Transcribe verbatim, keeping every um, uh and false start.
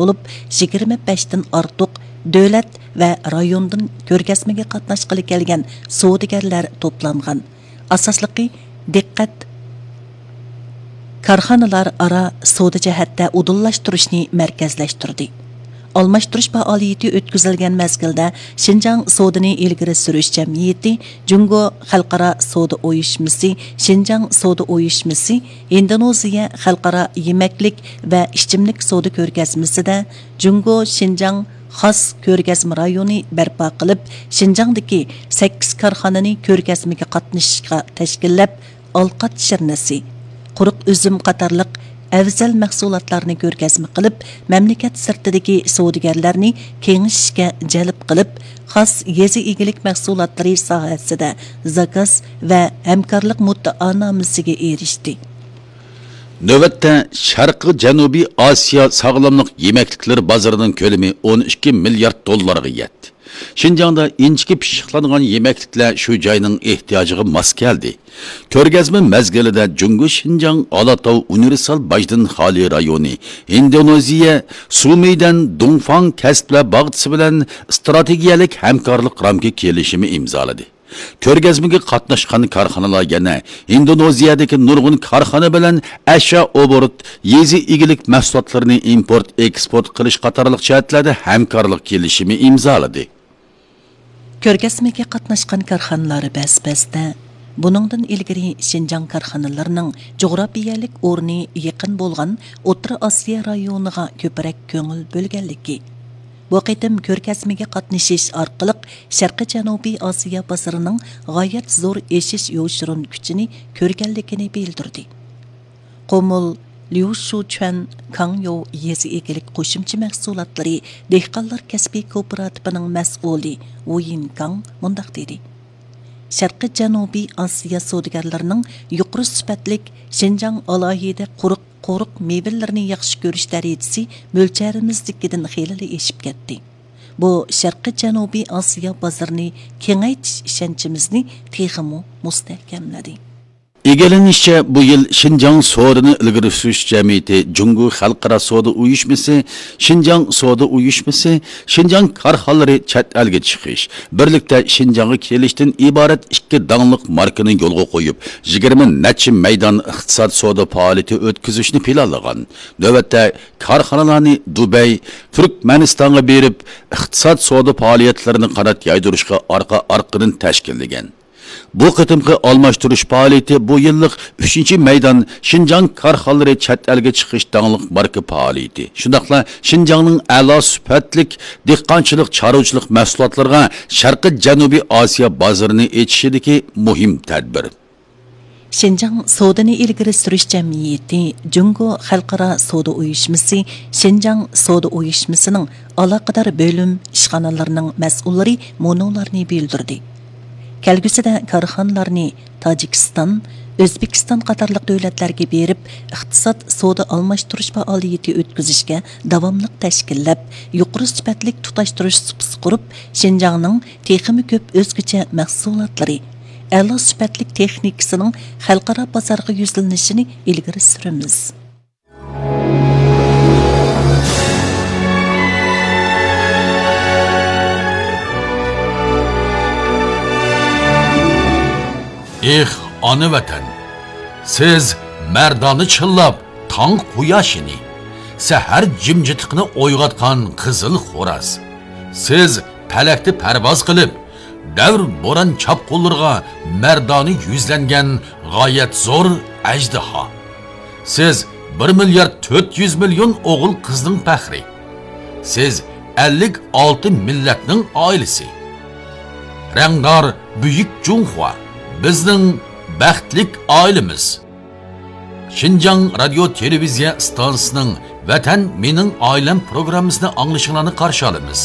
بولۇپ، يىگىرمە بەشتىن ئارتۇق دۆلەت ۋە رايوندىن كۆرگەزمىگە قاتناشقىلى كەلگەن سودىگەرلەر توپلانغان. ئاساسلىقى دىققەت كارخانىلار ئارا سودا جەھەتتە ئۇدۇللاشتۇرۇشنى مەركەزلەشتۈردى. ئالماشتۇرۇش پائالىيىتى ئۆتكۈزۈلگەن مەزگىلدە شىنجاڭ سودىنى ئىلگىرى سۈرۈش جەمئىيىتى، جۇڭگو خەلقئارا سودا ئۇيۇشمىسى، شىنجاڭ سودا ئۇيۇشمىسى، ھىندونېزىيە خەلقئارا يېمەكلىك ۋە ئىچىملىك سودا كۆرگەزمىسىدە جۇڭگو شىنجاڭ خاس كۆرگەزمە رايونى بەرپا قىلىپ، شىنجاڭدىكى سەككىز كارخانىنى كۆرگەزمىگە قاتنىشىشقا تەشكىللەپ، ئالقات شىرنىسى، قۇرۇق ئۈزۈم قاتارلىق ئەۋزەل مەھسۇلاتلارنى كۆرگەزمە قىلىپ، مەملىكەت سىرتىدىكى سودىگەرلەرنى كېڭىشىشكە جەلپ قىلىپ، خاس يېزا ئىگىلىك مەھسۇلاتلىرى ساھەسىدە زاكاز ۋە ھەمكارلىق مۇددىئانامىسىگە ئېرىشتى. نۆۋەتتە شەرقىي جەنۇبىي ئاسىيا ساغلاملىق يېمەكلىكلىرى بازىرىنىڭ كۆلىمى ئون ئىككى مىليارد دوللارغا يەتتى. شىنجاڭدا ئىنچىكە پىششىقلانغان يېمەكلىكلەر شۇ جاينىڭ ئېھتىياجىغا ماس كەلدى. كۆرگەزمە مەزگىلىدە جۇڭگو شىنجاڭ ئالاتاۋ ئۇنىۋېرسال باجدىن خالىي رايونى، ھىندونېزىيە سۇمىدەن دۇڭفاڭ كەسىپلەر باغچىسى بىلەن ئىستراتېگىيەلىك ھەمكارلىق رامكا كېلىشىمى ئىمزالىدى. كۆرگەزمىگە قاتناشقان كارخانىلار يەنە ھىندونېزىيەدىكى نۇرغۇن كارخانا بىلەن ئەشيا ئوبوروت، يېزا ئىگىلىك مەھسۇلاتلىرىنى ئىمپورت، ئېكسپورت قىلىش قاتارلىق جەھەتلەردە ھەمكارلىق كېلىشىمى ئىمزالىدى. كۆرگەزمىگە قاتناشقان كارخانىلار بەس-بەستە، بۇنىڭدىن ئىلگىرى شىنجاڭ كارخانىلىرىنىڭ جۇغراپىيەلىك ئورنى يېقىن بولغان ئوتتۇرا ئاسىيا رايونىغا كۆپرەك كۆڭۈل بۆلگەنلىكى، بۇ قېتىم كۆرگەزمىگە قاتنىشىش ئارقىلىق شەرقىي جەنۇبىي ئاسىيا بازىرىنىڭ غايەت زور ئېشىش يوشۇرۇن كۈچىنى كۆرگەنلىكىنى بىلدۈردى. قۇمۇل ليۇشۇچۈەن كاڭيو يېزا ئىگىلىك قوشۇمچە مەھسۇلاتلىرى دېھقانلار كەسپىي كوپىراتىپىنىڭ مەسئۇلى ۋۇيىن كاڭ مۇنداق دېدى: شەرقىي جەنۇبىي ئاسىيا سودىگەرلىرىنىڭ يۇقىرى سۈپەتلىك شىنجاڭ ئالاھىدە قۇرۇق، قورۇق مېۋىلىرىنى ياخشى كۆرۈش دەرىجىسى مۆلچەرىمىزدىكىدىن خېلىلا ئېشىپ كەتتى. بۇ شەرقىي جەنۇبىي ئاسىيا بازىرىنى كېڭەيتىش ئىشەنچىمىزنى تېخىمۇ مۇستەھكەملىدى. ئىگىلىنىشىچە، بۇ يىل شىنجاڭ سودىنى ئىلگىرى سۈرۈش جەمئىيىتى، جۇڭگو خەلقئارا سودا ئۇيۇشمىسى، شىنجاڭ سودا ئۇيۇشمىسى، شىنجاڭ كارخانىلىرى چەت ئەلگە چىقىش، بىرلىكتە شىنجاڭغا كېلىشتىن ئىبارەت ئىككى داڭلىق ماركىنى يولغا قويۇپ، يىگىرمە نەچچە مەيدان ئىقتىساد سودا پائالىيىتى ئۆتكۈزۈشنى پىلانلىغان. نۆۋەتتە كارخانىلارنى دۇبەي، تۈركمەنىستانغا بېرىپ، ئىقتىساد سودا پائالىيەتلىرىنى قانات يايدۇرۇشقا ئارقا-ئارقىدىن تەشكىللىگەن. بۇ قېتىمقى ئالماشتۇرۇش پائالىيىتى بۇ يىللىق ئۈچىنچى مەيدان شىنجاڭ كارخانىلىرى چەت ئەلگە چىقىش داڭلىق ماركا پائالىيىتى، شۇنداقلا شىنجاڭنىڭ ئەلا سۈپەتلىك دېھقانچىلىق، چارۋىچىلىق مەھسۇلاتلىرىغا شەرقىي جەنۇبىي ئاسىيا بازىرىنى ئېچىشىدىكى مۇھىم تەدبىر. شىنجاڭ سودىنى ئىلگىرى سۈرۈش جەمئىيىتى، جۇڭگو خەلقئارا سودا ئۇيۇشمىسى، شىنجاڭ سودا ئۇيۇشمىسىنىڭ ئالاقىدار بۆلۈم ئىشخانىلىرىنىڭ مەسئۇللىرى مۇنۇلارنى بىلدۈردى. كەلگۈسىدە كارخانىلارنى تاجىكىستان، ئۆزبېكىستان قاتارلىق دۆلەتلەرگە بېرىپ، ئىقتىساد، سودا ئالماشتۇرۇش پائالىيىتى ئۆتكۈزۈشكە داۋاملىق تەشكىللەپ، يۇقىرى سۈپەتلىك تۇتاشتۇرۇش سۇپىسى قۇرۇپ، شىنجاڭنىڭ تېخىمۇ كۆپ ئۆزگىچە مەھسۇلاتلىرى، ئەلا سۈپەتلىك تېخنىكىسىنىڭ خەلقئارا بازارغا يۈزلىنىشىنى ئىلگىرى سۈرىمىز. ئېھ، ئانا ۋەتەن! سىز مەردانە چىللاپ تاڭ قۇياشىنى، سەھەر جىمجىتلىقىنى ئويغاتقان قىزىل خوراز. سىز پەلەكتە پەرۋاز قىلىپ، دەۋر بوران چاپقۇنلىرىغا مەردانە يۈزلەنگەن غايەت زور ئەجدىھا. سىز بىر مىليارد تۆت يۈز مىليون ئوغۇل قىزنىڭ پەخرى. سىز ئەللىك ئالتە مىللەتنىڭ ئائىلىسى. رەڭدار بۈيۈك جۇڭخۇا، بىزنىڭ بەختلىك ئائىلىمىز. شىنجاڭ رادىيو تېلېۋىزىيە ئىستانسىسىنىڭ ۋەتەن مېنىڭ ئائىلەم پروگراممىسىنى ئاڭلىشىڭلارنى قارشى ئالىمىز.